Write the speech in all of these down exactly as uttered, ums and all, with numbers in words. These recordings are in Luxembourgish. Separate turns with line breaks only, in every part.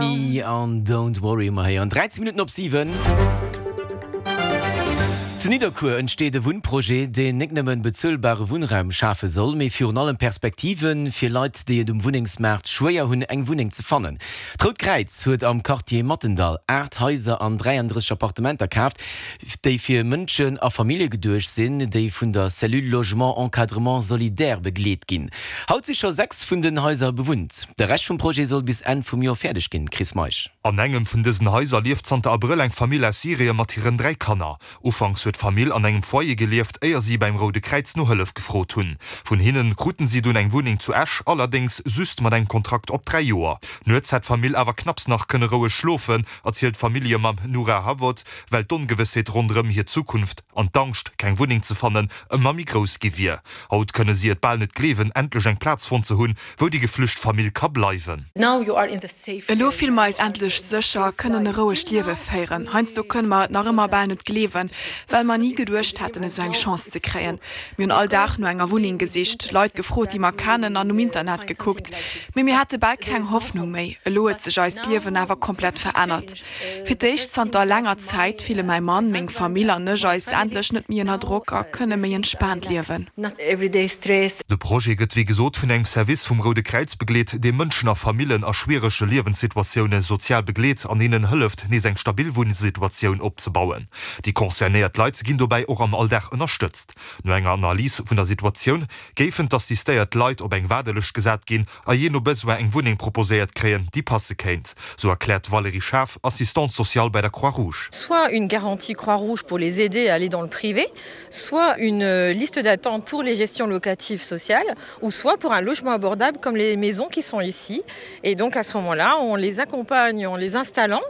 Destiny an Don't Worry hu mer héieren. dräizéng Minutten op siwen. Zu Nidderkuer entsteet e Wunnprojet, deen net nëmmen bezuelbare Wunnraum schafe soll, mee virun allem Perspektive fir Leit, déi et um Wunnengsmaart schwéier hunn, eng Wunneng ze fannen. D'Rout Kräiz huet am Quartier Mattendall aacht Haiser an dräiandrësseg Appartementer kaaft, déi fir Mënschen a Famillje geduecht sinn, déi vun der Cellule Logement Encadrement Solidaire begleet ginn. Haut si scho sechs vun den Haiser bewunnt. De Rescht vum Projet soll bis Enn vum Joer fäerdeg ginn. Chris Meisch.
An engem vun dësen Haiser lieft zanter Abrëll eng Famill aus Syrie mat hiren dräi Kanner. Ufanks huet d'Famill an engem Foyer gelieft, éier si beim Roude Kräiz no Hëllef gefrot hunn. Vun hinnen kruten si dunn eng Wunneng zu Esch, allerdéngs just mat engem Kontrakt op dräi Joer. Nuets hätt d'Famill awer knapps nach kënne roueg schlofen, erzielt d'Familljemamm Noura Hawot, well d'Ongewëssheet ronderëm hir Zukunft an d'Angscht, keng Wunneng ze fannen, ëmmer méi grouss gi wier. Haut kënne si et bal net gleewen, endlech eng Plaz fonnt ze hunn, wou déi geflücht Famill ka bleiwen.
Elo fille mer eis endlech sécher, kënnen e rouegt Liewe féieren. Heiansdo kënne mer et nach ëmmer bal net gleewen, well mer ni geduecht hätten, esou eng Chance ze kréien. Mir hunn all Dag no enger Wunneng gesicht, Leit gefrot, déi mer kennen an um Internet gekuckt, mee mir hate bal keng Hoffnung méi. Elo huet sech eist Liewen awer komplett verännert. Fir d'éischt zanter laanger Zäit fille mäi Mann, meng Famill an ech eis endlech net méi ënner Drock a kënne méi entspaant liewen.
De Projet gëtt wéi gesot vun engem Service vum Roude Kräiz begleet, dee Mënschen a Famillen a schwierege Liewenssituatioune sozial begleet an hinnen hëlleft, nees eng stabil Wunnsituatioun opzebauen. Déi concernéiert Leit ginn dobäi och am Alldag ënnerstëtzt. No enger Analys vun der Situatioun géifen d'assistéiert Leit op eng Waardelëscht gesat ginn a jee no Besoin eng Wunneng proposéiert kréien, déi passe kéint, sou erkläert d'Valérie Schaaf, Assistante sociale bei der Croix-Rouge.
Soit une garantie Croix-Rouge pour les aider à aller dans le privé, soit une liste d'attente pour les gestions locatives sociales ou soit pour un logement abordable comme les maisons qui sont ici. Et donc à ce moment-là, on les accompagne en les installant,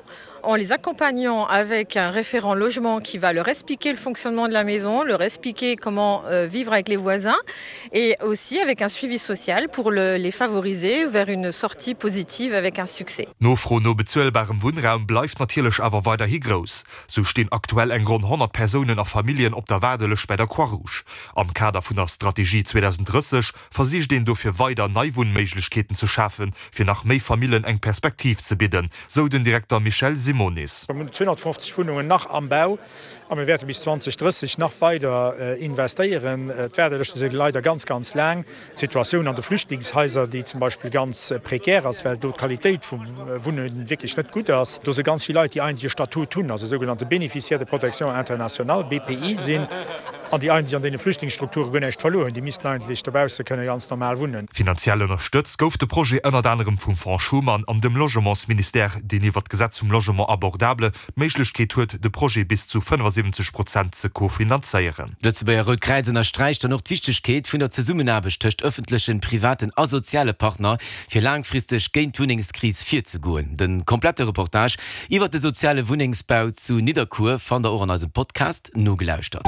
en les accompagnant avec un référent logement qui va leur expliquer le fonctionnement de la maison, leur expliquer comment euh, vivre avec les voisins et aussi avec un suivi social pour le, les favoriser vers une sortie positive avec un succès.
D'Nofro no bezuelbarem Wunnraum bleift natierlech awer weiderhi grouss. Sou stinn aktuell eng ronn honnert Persounen a Familljen op der Waardelëscht bei der Croix-Rouge. Am Kader vun der Strategie zweedausenddrësseg versicht een dofir weider nei Wunnméiglechkeeten ze schafen, fir nach méi Famillen eng Perspektiv ze bidden, sou den Direkter Michel Simonis.
Mir hunn zweehonnertfofzeg Wunnungen nach am Bau a mir wäerte bis zweedausenddrësseg nach weider investéieren. D'Waardelëschte si leider ganz, ganz laang. D'Situatioun an de Flüchtlingshaiser, déi zum Beispill ganz prekär ass, well do d'Qualitéit vum Wunne wierklech net gutt ass. Do si ganz vill Leit, déi eigentlech e Statut hunn, also sougenannte Bénéficiaires de protection internationale, B P I, sinn, an déi eigentlech an deene Flüchtlingsstrukture guer näischt verluer hunn. Déi missten eigentlech dobausse kënne ganz normal wunnen.
Finanziell ënnerstëtzt gouf de Projet ënnert anerem vum Fonds Schuman an dem Logementsministère, deen iwwer d'Gesetz vum Logement abordable d'Méiglechkeet huet, de Projet bis zu fënnefasiwwenzeg Prozent ze kofinanzéieren.
D'Lëtzebuerger Rout Kräiz ënnersträicht dann och d'Wichtegkeet vun der Zesummenaarbecht tëscht ëffentlechen, privaten a soziale Partner, fir laangfristeg géint d'Wunnengskris virzegoen. De komplette Reportage iwwer de soziale Wunnengsbau zu Nidderkuer fannt der och an eisem Podcast. Nogelauschtert.